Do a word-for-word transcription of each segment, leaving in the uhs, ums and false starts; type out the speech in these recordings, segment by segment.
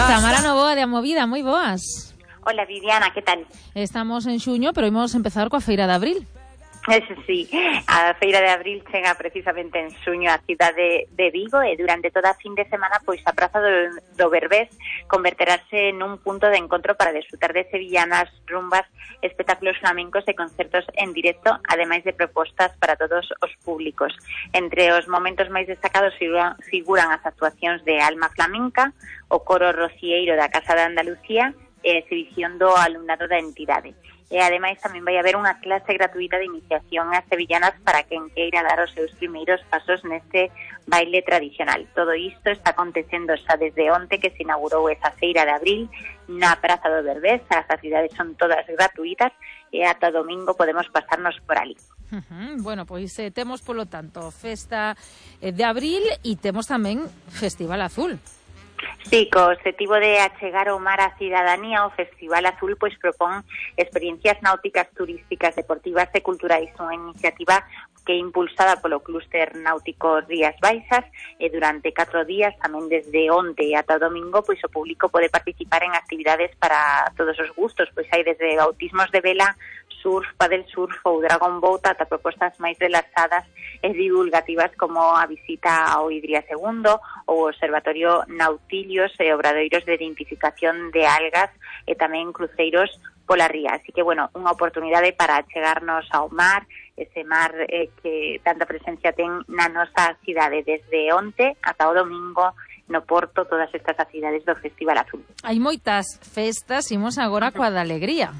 Tamara Novoa de Amovida, moi boas. Hola Viviana, que tal? Estamos en xuño, pero imos empezar coa Feira de Abril. Eso sí, a Feira de Abril chega precisamente en xuño a cidade de Vigo e durante toda a fin de semana pois a Praza do, do Berbés converterase nun punto de encontro para disfrutar de sevillanas, rumbas, espectáculos flamencos e concertos en directo, ademais de propostas para todos os públicos. Entre os momentos máis destacados figuran, figuran as actuacións de Alma Flamenca, o coro rocieiro da Casa de Andalucía e a exhibición do alumnado da entidade. E ademais tamén vai haber unha clase gratuita de iniciación ás sevillanas para quen queira dar os seus primeiros pasos neste baile tradicional. Todo isto está acontecendo xa desde onte que se inaugurou esa Feira de Abril na Praza do Berbés. As actividades son todas gratuitas e ata domingo podemos pasarnos por ali. Uh-huh. Bueno, pois eh, temos polo tanto Festa eh, de Abril e temos tamén Festival Azul. Sí, co objetivo de achegar o mar á cidadanía, o Festival Azul pois propón experiencias náuticas, turísticas, deportivas e culturais, unha iniciativa que é impulsada polo Clúster Náutico Rías Baixas e durante catro días, tamén desde onte ata o domingo, pois o público pode participar en actividades para todos os gustos, pois hai desde bautismos de vela, surf, paddle surf ou dragon boat ata propostas máis relaxadas e divulgativas como a visita ao Idría segundo ou o Observatorio Nautilios e obradoiros de identificación de algas e tamén cruceiros pola ría. Así que, bueno, unha oportunidade para chegarnos ao mar, ese mar eh, que tanta presencia ten na nosa cidade desde onte ata o domingo no Porto, todas estas actividades do Festival Azul. Hai moitas festas, imos agora coa da alegría.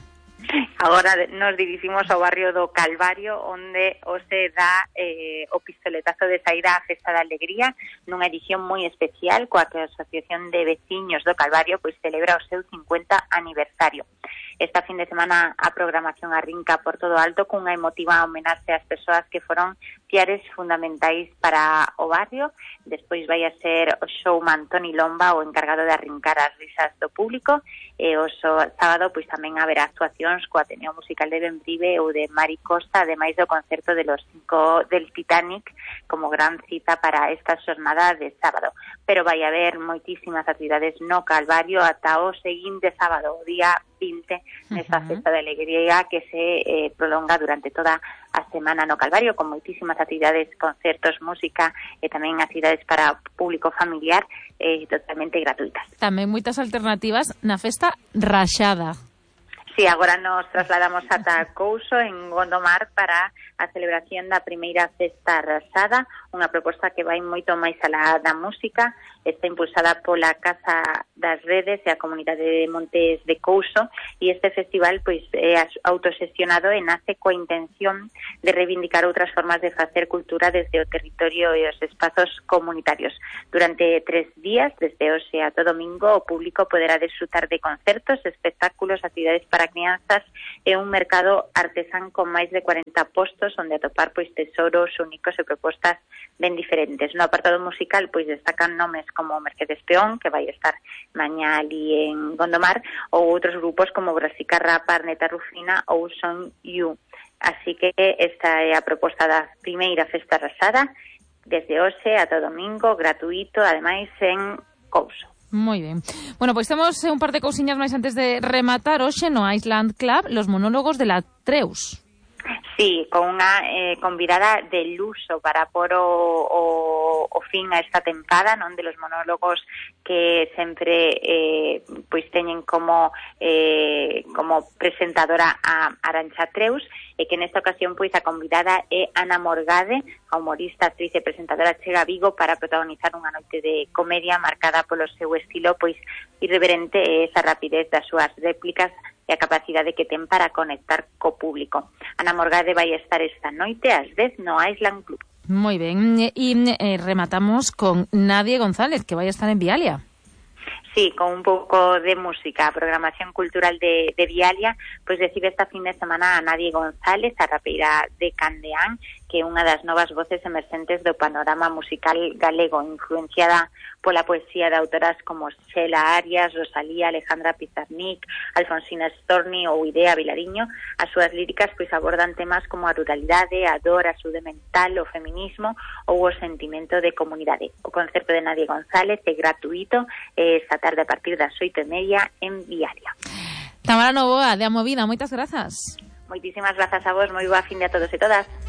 Agora nos diriximos ao barrio do Calvario, onde hoxe dá eh, o pistoletazo de saída á Festa da Alegría, nunha edición moi especial coa que a Asociación de Veciños do Calvario pois celebra o seu cincuenta aniversario. Esta fin de semana a programación arrinca por todo alto cunha emotiva homenaxe ás persoas que foron piares fundamentais para o barrio. Despois vai a ser o showman Toni Lomba o encargado de arrincar as risas do público e o sábado pois tamén haberá actuacións co Ateneo Musical de Bembrive ou de Mari Costa, ademais do concerto de los cinco del Titanic como gran cita para esta xornada de sábado. Pero vai haber moitísimas actividades no Calvario ata o seguinte sábado, o día vinte, nesta uh-huh. Festa de Alegría que se eh, prolonga durante toda a semana no Calvario, con moitísimas actividades, concertos, música e tamén actividades para público familiar eh, totalmente gratuitas. Tamén moitas alternativas na Festa Raxada. Sí, agora nos trasladamos ata Couso, en Gondomar, para a celebración da primeira Festa Raxada, unha proposta que vai moito máis alá da música. Está impulsada pola Casa das Redes e a Comunidade de Montes de Couso, e este festival pois é autoxestionado e nace coa intención de reivindicar outras formas de facer cultura desde o territorio e os espazos comunitarios. Durante tres días, desde hoxe ata domingo, o público poderá disfrutar de concertos, espectáculos, actividades para crianzas e un mercado artesán con máis de cuarenta postos onde atopar pois tesouros únicos e propostas ben diferentes. No apartado musical pois destacan nomes como Mercedes Peón, que vai estar mañá ali en Gondomar, ou outros grupos como Brasica Rapa, Arneta Rufina ou Son You. Así que esta é a proposta da primeira Festa Raxada, desde hoxe ata o domingo, gratuito, ademais en Couso. Moi ben. Bueno, pois temos un par de cousiñas máis antes de rematar hoxe no Island Club, los monólogos de la Treus. Sí, con unha eh, convidada de luso para por o, o, o fin a esta tempada, non, de los monólogos que sempre eh, pois teñen como eh, como presentadora a Arantxa Treus, e que nesta ocasión pois a convidada é Ana Morgade, a humorista, actriz e presentadora chega a Vigo para protagonizar unha noite de comedia marcada polo seu estilo pois irreverente e esa rapidez das súas réplicas e a capacidade que ten para conectar co público. Ana Morgade vai estar esta noite ás dez no Island Club. Moi ben, e eh, rematamos con Nadie González, que vai estar en Vialia. Sí, con un pouco de música, a programación cultural de, de Vialia, pois recibe esta fin de semana a Nadie González, a rapeira de Candeán, que é unha das novas voces emerxentes do panorama musical galego, influenciada pola poesía de autoras como Xela Arias, Rosalía, Alejandra Pizarnik, Alfonsina Storni ou Idea Vilariño. As súas líricas pois abordan temas como a ruralidade, a dor, a saúde mental, o feminismo ou o sentimento de comunidade. O concerto de Nadia González é gratuito esta tarde a partir das oito e media en Viaria. Tamara Novoa, de A Movida, moitas grazas. Moitísimas grazas a vos, moi boa fin de a todos e todas.